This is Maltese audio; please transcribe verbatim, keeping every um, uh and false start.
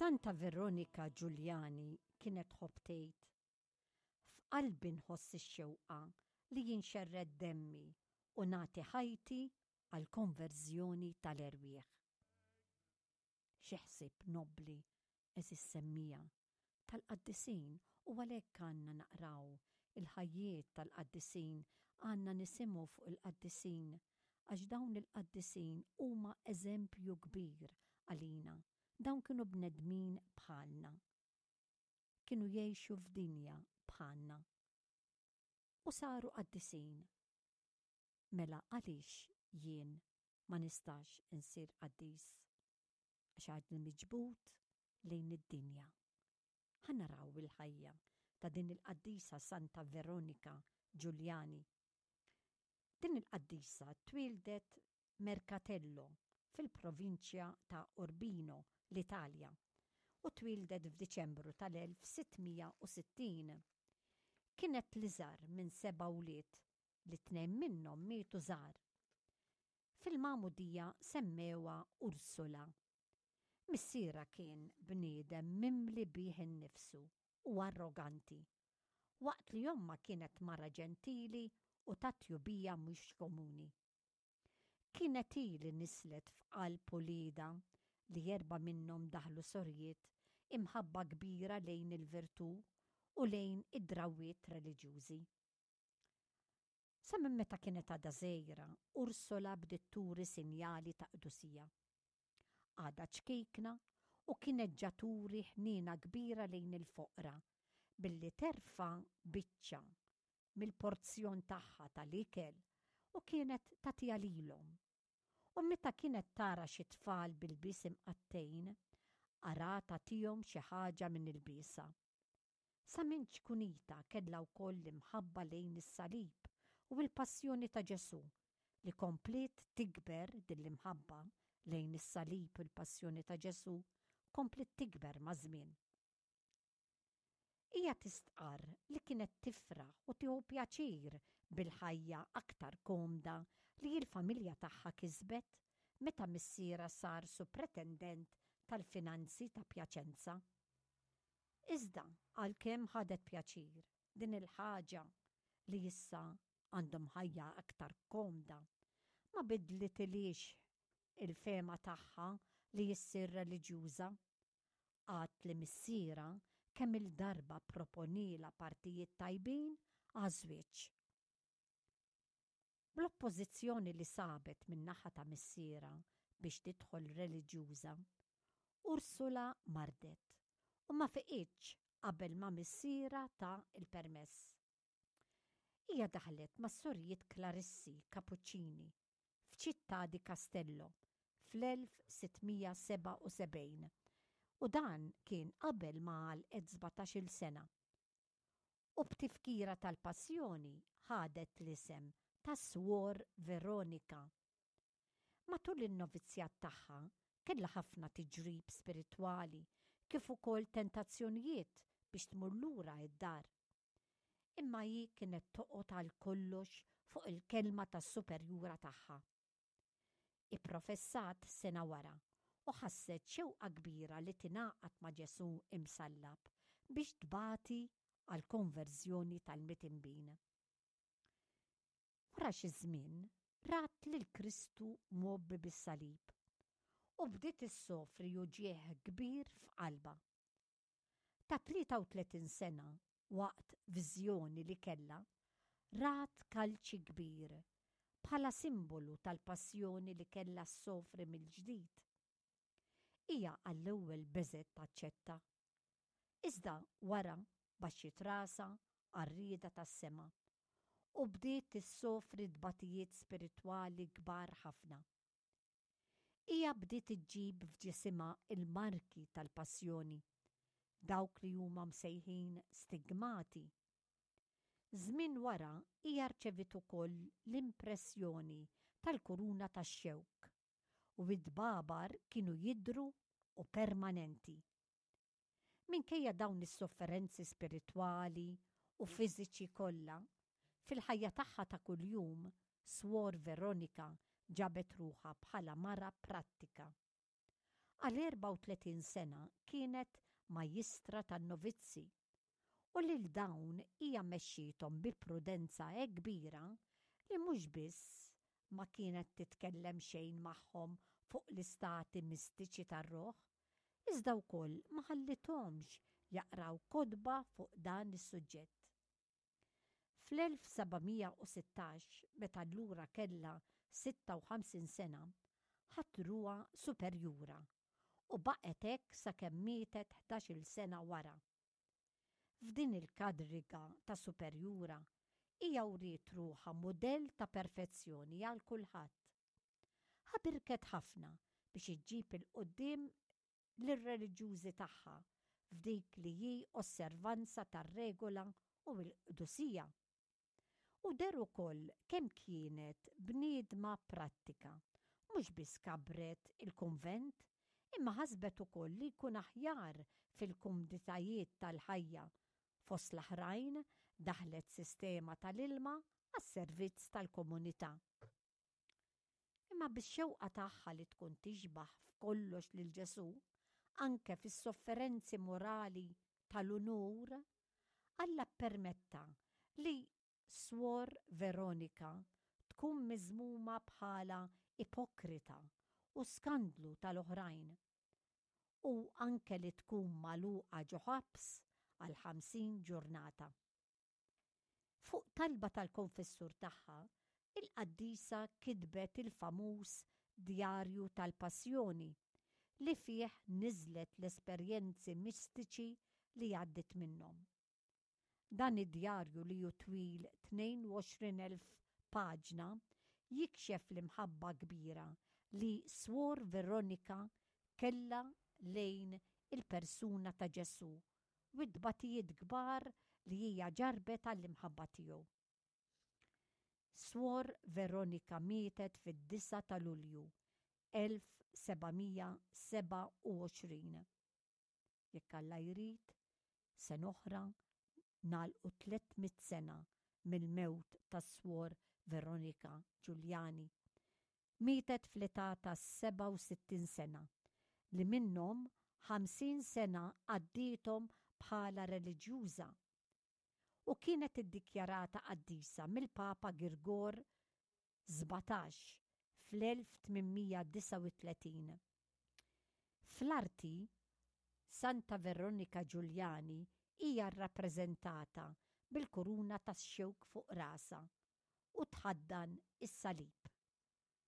Santa Veronika Giuliani kienet tħobb tgħid: "F'qalbi nħoss ix-xewqa li jinxerred demmi u nagħti ħajti għall-konverżjoni tal-erwieħ." Xi ħsieb nobbli, għeżież semmiegħa, tal-qaddisin, u għalhekk għandna naqraw il-ħajjiet tal-qaddisin, għandna nisimgħu fuq il-qaddisin, għax dawn il-qaddisin huma eżempju kbir għalina. Dawn kienu bnedmin bħalna. Kienu jgħixu f'dinja bħalna. U saru qaddisin. Mela għaliex jien ma nistax insir qaddis? Għax għadni miġbud lejn id-dinja. Ħa naraw il-ħajja ta' din il-qaddisa Santa Veronika Giuliani. Din il-qaddisa twieldet Mercatello fil-provinċja ta' Urbino, l-Italja, u twieldet f'Diċembru tal-elf sitt mija u sittin. Kienet l-iżgħar minn seba' wlied li tnejn minnhom mietu żgħar. Fil-magħmudija semmewha Ursula. Missierha kien bniedem mimli bih innifsu u arroganti, waqt li ommha kienet mara ġentili u ta' tjubija mhux komuni. Kienet hi li nisslet f'qalb uliedha, li erba' minnhom daħlu sorijiet, imħabba kbira lejn il-virtù u lejn id-drawwiet reliġjużi. Sa minn meta kienet għadha żgħira, Ursula bdiet turi sinjali ta' qdusija. Għadha ċkejkna u kienet ġa turi ħniena kbira lejn il-foqra billi terfa' biċċa mill-porzjon tagħha tal-ikel u kienet tagħtiha lilhom. U meta kienet tara xi tfal b'ilbies imqattgħin, ara tagħtihom xi ħaġa minn ilbiesha. Sa minn ċkunitha kellha wkoll l-imħabba lejn is-salib u l-passjoni ta' Ġesù li kompliet tikber. Din l-imħabba lejn is-salib u l-passjoni ta' Ġesù kompliet tikber maż-żmien. Hija tistqar li kienet tifraħ u tieħu pjaċir bil-ħajja aktar komda li l-familja tagħha kisbet meta missierha sar supretendent tal-finanzi ta' Pjaċenza. Iżda għalkemm ħadet pjaċir din il-ħaġa li issa għandhom ħajja aktar komda, ma bidlitilhiex il-fehma tagħha li ssir reliġjuża. Għad li missierha kemm il-darba pproponielha partijiet tajbin għaż-żwieġ. Bl-oppożizzjoni li sabet min-naħa ta' missierha biex tidħol reliġjuża, Ursula mardet u ma fiqitx qabel ma missierha ta il-permess. Hija daħlet mas-sorijiet Klarissi Kapuċċini f'Città di Castello fl-elf sitt mija sebgħa u sebgħin u dan kien qabel ma għalqet sbatax-il sena. U b'tifkira tal-passjoni ħadet l-isem ta' Swor Veronika. Matul in-novizzjat tagħha kellha ħafna tiġrib spiritwali kif ukoll tentazzjonijiet biex tmur lura id-dar. Imma hi kienet toqgħod għal kollox fuq il-kelma tas-superjura tagħha. Ipprofessat sena wara u ħasset xewqa kbira li tingħaqad ma' Ġesù imsallab biex tbati għal konverżjoni tal-midinbin. Wara xi żmien rat lil Kristu mgħobbi bis-salib u bdiet issofri uġigħ kbir f'qalbha. Ta' tlieta u tletin sena, waqt viżjoni li kellha, rat kalċi kbir bħala simbolu tal-passjoni li kellha ssofri mill-ġdid. Hija għall-ewwel beżgħet taċċetta. Iżda wara baxxiet rasha għar-rieda tas-sema u bdiet tissofri tbatijiet spiritwali kbar ħafna. Hija bdiet iġġib f'ġisimha il-marki tal-passjoni, dawk li huma msejħin stigmati. Żmien wara hija rċevit ukoll l-impressjoni tal-kuruna tax-xewk u id-dbabar kienu jidhru u permanenti. Minkejja dawn is-sofferenzi spiritwali u fiżiċi kollha, fil-ħajja tagħha ta' kuljum, Swor Veronika ġabet ruħha bħala mara prattika. Għal erbgħa u tletin sena kienet majjistra tan-novizzi u lil dawn hija mexxiethom bi prudenza hekk kbira li mhux biss ma kienet titkellem xejn magħhom fuq l-istati mistiċi tar-ruħ, iżda wkoll ma ħallithomx jaqraw kotba fuq dan is-suġġett. Fl-elf seba' mija u sittax, meta allura kellha sitta u ħamsin sena, ħatruha superjura u baqgħet hekk sakemm mietet ħdax-il sena wara. F'din il-kadriga ta' superjura hija wriet ruħha mudell ta' perfezzjoni għal kulħadd. Ħabirket ħafna biex iġġib il-quddiem lir-reliġjużi tagħha f'dik li hi osservanza tar-regola u l-qdusija. U deher ukoll kemm kienet bniedma prattika, mhux biss kabret il-kunvent, imma ħasbet ukoll li jkun aħjar fil-kumditajiet tal-ħajja. Fost l-oħrajn daħlet sistema tal-ilma għas-servizz tal-komunità. Imma bix-xewqa tagħha li tkun tixbaħ f'kollox lil Ġesù, anke fis-sofferenzi morali tal-unur, Alla ppermetta li Swor Veronika tkun miżmuma bħala ipokrita u skandlu tal-oħrajn, u anke li tkun magħluqa ġo ħabs għal ħamsin ġurnata. Fuq talba tal-konfessur tagħha, il-qaddisa kitbet il-famuż Djarju tal-Passjoni li fih niżlet l-esperjenzi mistiċi li għaddit minnhom. Dan id-djarju li hu twil tnejn u għoxrin elf paġna jikxef l-imħabba kbira li Swor Veronika kellha lejn il-persuna ta' Ġesù u t-tbatijiet kbar li hija ġarbet għall-imħabba tiegħu. Swor Veronika mietet fid-disgħa ta' Lulju elf seba' mija seba' u għoxrin. Jekk Alla jrid, sena oħra nagħlqu tliet mitt sena mill-mewt ta' Swor Veronika Giuliani. Mietet fl-età ta' seba' u sittin sena, li minnhom ħamsin sena għaddietom bħala reliġjuża u kienet iddikjarata qaddisa mill-Papa Girgor sbatax fl-elf tmien mija disgħa u tletin. Fl-arti, Santa Veronika Giuliani hija rrappreżentata bil-kuruna tax-xewk fuq rasha u tħaddan is-salib.